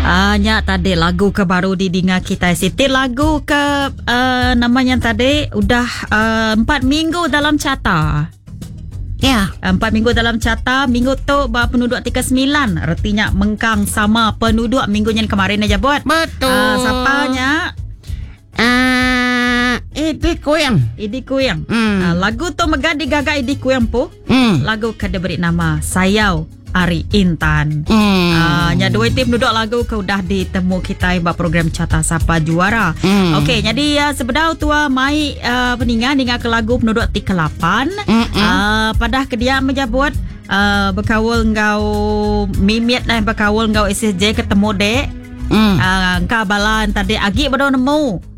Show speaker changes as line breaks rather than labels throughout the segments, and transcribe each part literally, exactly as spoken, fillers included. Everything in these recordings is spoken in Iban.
Ah, nya tadi lagu ke baru didinga kita. Siti lagu ke uh, namanya tadi udah uh, empat minggu dalam carta.
Ya.
Empat minggu dalam carta. Minggu tu bah penduduk tiga sembilan. Artinya mengkang sama penduduk minggu yang kemarin aja buat.
Betul.
Uh, siapanya?
Ah, uh, Idi Kuyang.
Idi Kuyang.
Hmm.
Uh, lagu tu megah digaga Idi Kuyang po.
Hmm.
Lagu ke diberi nama Sayau Ari Intan.
Hmm.
Uh, nya dua tim duduk lagu ke udah ditemu kita ba program Carta Sapa Juara.
Hmm.
Okey, jadi uh, sebedau tua mai uh, peningan ninga ke lagu penduduk ti kelapan.
Mm-mm.
Uh, padah ke dia menjabut uh, berkaul ngau mimit nah berkaul ngau S S J ketemu dek.
Mm.
Uh, engkau balan tadi agi baru nemu.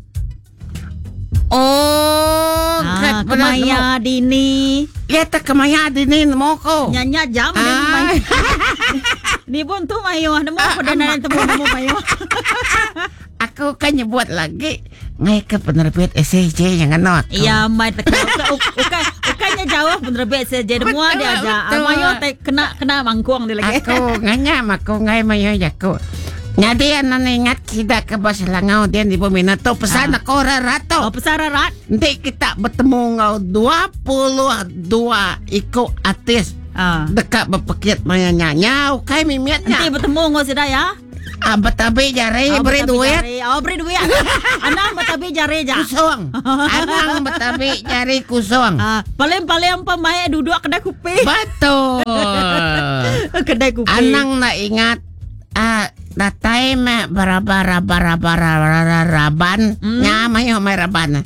Oh,
ah, kemaya dini.
Ya tak kemaya dini nemu ko.
Nya jam ah. Ni, ni pun tu mayo nemu aku dan nemu nemu mayo.
Aku kan nyebut lagi ngai ke penerbit S S J yang kena.
Ya mai tak ukai ukainya jauh penerbit S S J nemu dia aja. Mayo te kena kena mangkuang dia lagi.
Aku nganya aku ngai mayo jaku. Jadi anak ingat kita ke bas Selangau dia di bumi tu pesan
ah.
aku rato.
Oh pesan rarat.
Nanti kita bertemu ngau dua puluh dua iko artis.
Ah.
Dekat berpekit maya nyanyi, ukai mimiatnya.
Nanti bertemu ngau sudah ya.
Ah, betabi jari
oh,
beri
betabi
duit.
Jari. Oh beri duit. Anang betabi jari ja.
Kusong. Anang betabi jari kusong.
Ah, paling-paling pemain duduk kedai kopi.
Betul.
Kedai kopi.
Anang nak ingat ah datai me barabara-bara-bara raban
Hmm.
nya mayo mai raban.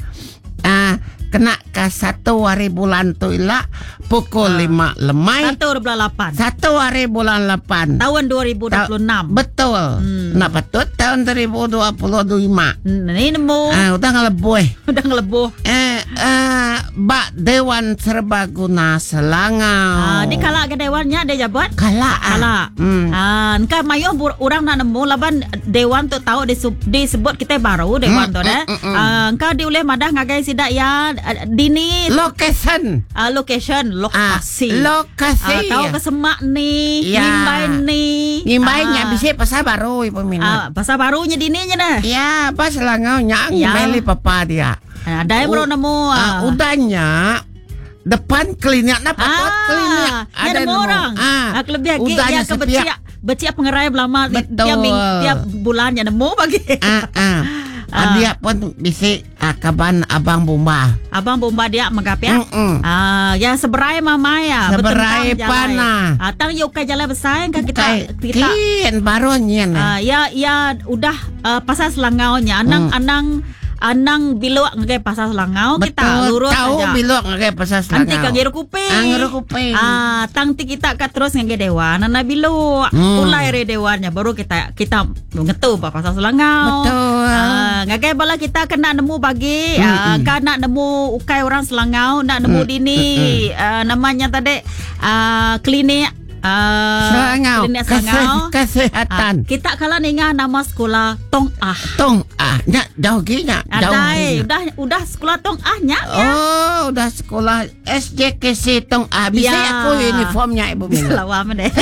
Ah kena ke satu hari bulan tu ila pukul
Ah.
lima lemai.
Satu hari bulan lapan.
Satu hari bulan lapan.
Tahun dua ribu dua puluh enam.
Ta- betul.
Hmm.
Nak patut tahun dua ribu dua puluh lima.
Ni nemu.
Ah udah ngelebuh.
Udah ngelebuh.
Eh eh bak Dewan Serbaguna Selangau.
Ah, di kalak ke dewannya dia jabat?
Kalak. ah.
Kalak.
Hmm.
Ah, engkau mayo orang nak nemu laban dewan tu tahu disebut kita baru dewan
Hmm,
tu dah.
hmm, hmm, hmm.
Ah, engkau diulih madah ngagai sidak ya dini
Location.
uh, location lokasi.
Ah, lokasi.
Ah, tahu ke semak ni,
Ya.
ngimbai ni.
Ngimbai nya
Ah.
bisa pasar baru ibu
Ah,
minat.
pasar barunya dininya dah.
Ya, pas Selangau nya
Ya.
ngimbai papa dia.
Ah, ada yang baru nemu.
Ah,
Ah,
udahnya depan klinik nak patut
Ah,
klinik.
ada nemu orang.
Ah,
Ah, kelebih lagi
udahnya
dia ke
sepiak.
beciak, beciak pengerai belama
Betul.
tiap ming, tiap bulan nya nemu bagi.
Ah, ah.
Ah.
Dia pun bisi ah, kaban abang bomba.
Abang bomba dia megap ya.
Mm-mm.
Ah, ya seberai mama ya.
Seberai
bertentang jalan.
panah.
Ah, tang yuk ke jalan besar kan kita
Kai,
kita
kin baru nyen.
Ah, ya ya udah uh, pasar Selangaunya anang
Hmm.
anang anang biluk ngagai pasar Selangau kita
Betul.
lurus
Tahu
aja.
biluk ngagai pasar Selangau.
Nanti kan ngiru kuping.
Ah, ngiru kuping.
Ah, tang ti kita kat terus ngagai dewan, nana biluk.
Hmm.
Ulai re dewannya baru kita kita ngetu ba pasar Selangau.
Betul.
Ah, ngagai bala kita kena nemu bagi,
Hmm,
ah,
hmm.
kan nak nemu ukai orang Selangau, nak nemu
Hmm,
dini ah, namanya tadi ah, klinik ah,
Selangau.
klinik
Kese-
Selangau.
Kesehatan.
Ah, kita kalau ninga nama sekolah Tong Ah.
Tong ah, nya jauh gi nya. Jauh.
Adai, udah udah sekolah Tong Ah nya ya.
Oh, udah sekolah S J K C Tong Ah. Bisa
Ya.
aku uniformnya ibu
Bisa
Mina.
lawa deh.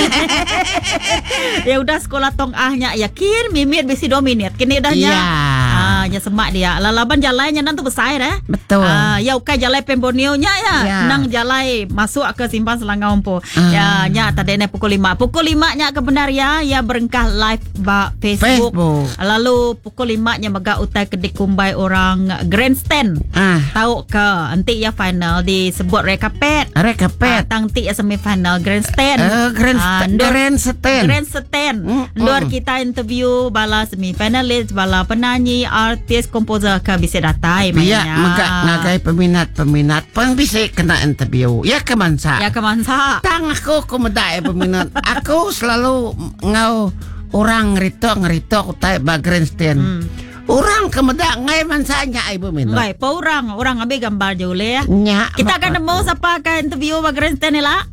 Ya udah sekolah Tong Ah nya yakin mimit bisi dua minit. Kini dah nya.
Ya.
Ah, nya semak dia. Lalaban jalannya nang tu besar eh.
Betul.
Ah, ya ukai jalai Pembonio nya ya.
Ya.
Nang jalai masuk ke Simpang Selangau empo.
Ah.
Ya, nya tadi ne pukul lima. Pukul lima nya kebenar ya, ya berengkah live ba Facebook.
Facebook.
Lalu pukul lima nya megak utai kedik kumbai orang grandstand.
Ah,
Tahu ke nanti ya final disebut red carpet.
red carpet.
Ah, tang ti ya semifinal grandstand.
Eh, grand
Ah, ndur-
grandstand.
Grandstand.
Mm,
Ndur
mm.
kita interview bala semifinalis, bala penyanyi, artis, komposer ke bisa datai
Biar
mainnya.
megak ngagai peminat-peminat pun bisa kena interview. Ya ke mansa.
Ya ke mansa.
Tang aku aku medai peminat. Aku selalu ngau orang ngerito ngerito aku tai ba grandstand.
Hmm.
Orang ke medak ngai mansanya ibu minat.
Baik, pa orang orang ambil gambar je boleh ya.
Nya.
Kita akan nemu siapa akan interview ba grandstand ni lah.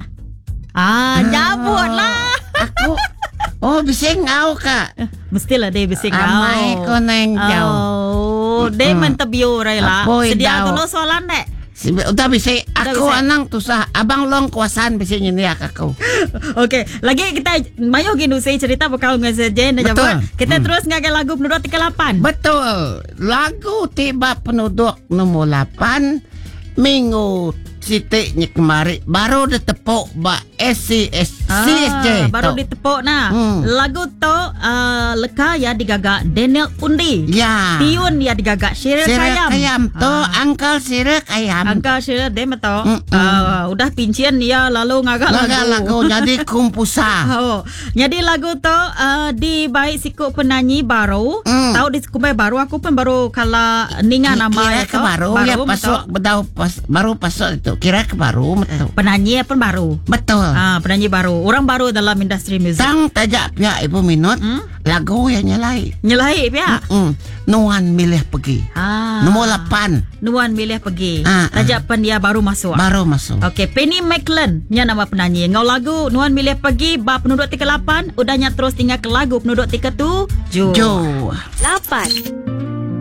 Ah, jabut lah.
Aku oh bisa ngau kak.
Mestilah dia bisa ngau.
Amai ko neng jauh.
Oh, dia
Mm-mm.
interview rai lah.
Apoi
Sedia
dau.
dulu soalan dek.
Si- Udah bisa aku Aku anang tusah abang long kuasaan bisi nyeniak aku.
Okey, lagi kita mayu gini cerita bekal dengan S J
Betul.
Kita hmm. terus ngagai lagu penduduk tiga lapan.
Betul. Lagu tiba penduduk nombor lapan minggu sitiknya kemari baru ditepuk ba S C S C S J.
Ah, baru tok. Ditepuk nah. Hmm. Lagu tu uh, leka ya digagak Daniel Undi.
Ya.
Tiun ya digagak Syiril Kayam.
Kayam tu ah. Uncle Syiril Kayam.
Uncle Syiril dia betul. Uh, udah pincin ya lalu ngagak lagu.
Ngagak lagu jadi kumpusa.
Oh. Jadi lagu tu uh, di baik sikuk penyanyi baru. Mm. Tahu di kumpai baru aku pun baru kala ninga nama
kira ke baru, baru ya pasuk bedau pas, baru pasuk itu. Kira ke baru betul.
Penyanyi pun baru.
Betul.
Ah, penyanyi baru. Orang baru dalam industri muzik.
Tang tajak pihak ibu minut hmm? Lagu yang nyelai.
Nyelai pihak.
Hmm. Nuan milih pergi.
Ah.
Nombor lapan.
Nuan milih pergi.
Ah,
tajak ah. Pen dia baru masuk.
Baru masuk.
Okey, Penny McLean nya nama penyanyi. Ngau lagu Nuan milih pergi bab penduduk tiga lapan, udahnya terus tinggal ke lagu penduduk tiga tujuh.
Jo.
Lapan.